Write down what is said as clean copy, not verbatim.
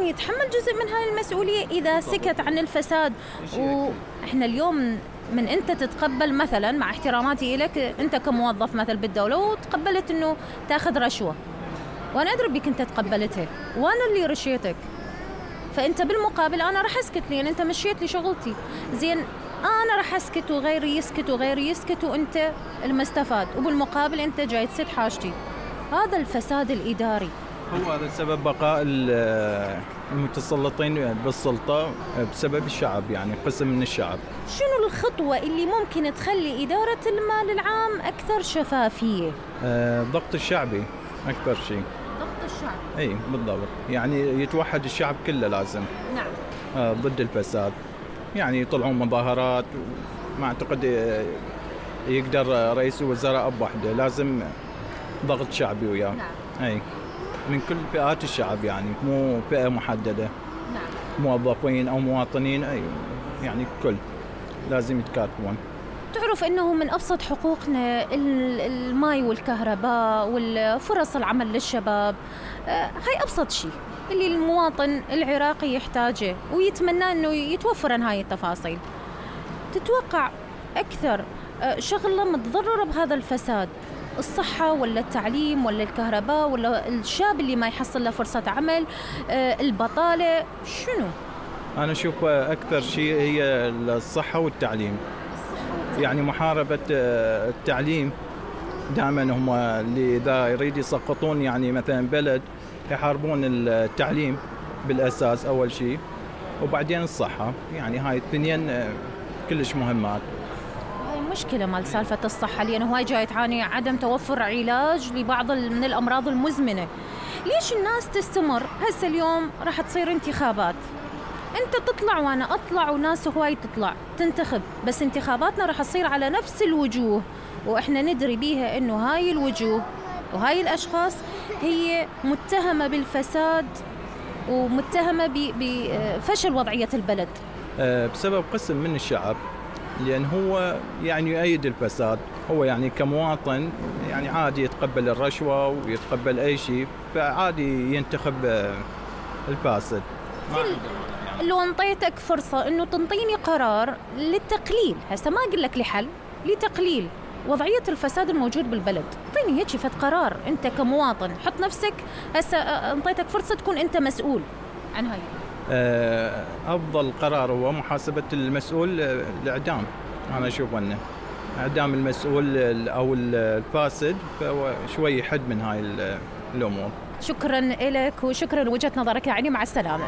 المواطن يتحمل جزء من هاي المسؤولية إذا سكت عن الفساد. وإحنا اليوم من أنت تتقبل مثلا، مع احتراماتي إليك، أنت كموظف مثل بالدولة وتقبلت أنه تأخذ رشوة، وأنا أدري بك أنت تقبلتها وأنا اللي رشيتك، فأنت بالمقابل أنا رح أسكت لأن أنت مشيت لي شغلتي. زين، أنا رح أسكت وغيري يسكت وغيري يسكت وأنت المستفاد، وبالمقابل أنت جاي تسد حاجتي. هذا الفساد الإداري. هو هذا سبب بقاء المتسلطين بالسلطة بسبب الشعب، يعني قسم من الشعب. شنو الخطوة اللي ممكن تخلي إدارة المال العام أكثر شفافية؟ الضغط الشعبي أكثر شيء. ضغط الشعب. أي بالضبط، يعني يتوحد الشعب كله لازم. نعم. ضد الفساد، يعني يطلعون مظاهرات. ما أعتقد يقدر رئيس الوزراء بوحده، لازم ضغط شعبي وياه. نعم. أي من كل فئات الشعب، يعني مو فئة محددة. نعم. موظفين أو مواطنين، أي يعني كل لازم يتكاتفون. تعرف أنه من أبسط حقوقنا الماء والكهرباء والفرص العمل للشباب، هاي أبسط شيء اللي المواطن العراقي يحتاجه ويتمنى أنه يتوفر عن هاي التفاصيل. تتوقع أكثر شغلة متضررة بهذا الفساد، الصحة ولا التعليم ولا الكهرباء ولا الشاب اللي ما يحصل له فرصة عمل، البطالة؟ شنو؟ أنا أشوف أكثر شيء هي الصحة والتعليم. يعني محاربة التعليم دائما هم اللي إذا يريد يسقطون يعني مثلا بلد يحاربون التعليم بالأساس أول شيء، وبعدين الصحة. يعني هاي الاثنين كلش مهمات. هاي مشكلة مال سالفة الصحة، لأنه هاي جاي تعاني عدم توفر علاج لبعض من الأمراض المزمنة. ليش الناس تستمر؟ هسه اليوم راح تصير انتخابات، انت تطلع وانا اطلع وناس هواي تطلع تنتخب، بس انتخاباتنا راح تصير على نفس الوجوه، واحنا ندري بيها انه هاي الوجوه وهاي الاشخاص هي متهمة بالفساد ومتهمة بفشل وضعية البلد بسبب قسم من الشعب، لأن هو يعني يؤيد الفساد. هو يعني كمواطن يعني عادي يتقبل الرشوة ويتقبل أي شيء، فعادي ينتخب الفاسد. لو انطيتك فرصة انه تنطيني قرار للتقليل، هسه ما اقول لك لحل، لتقليل وضعية الفساد الموجود بالبلد، اعطيني هيك فد قرار انت كمواطن، حط نفسك هسه انطيتك فرصة تكون انت مسؤول عن هاي. افضل قرار هو محاسبة المسؤول، الاعدام. انا اشوف انه اعدام المسؤول او الفاسد، فهو شوي يحد من هاي الامور. شكرا لك وشكرا لوجهة نظرك يا عيني، مع السلامة.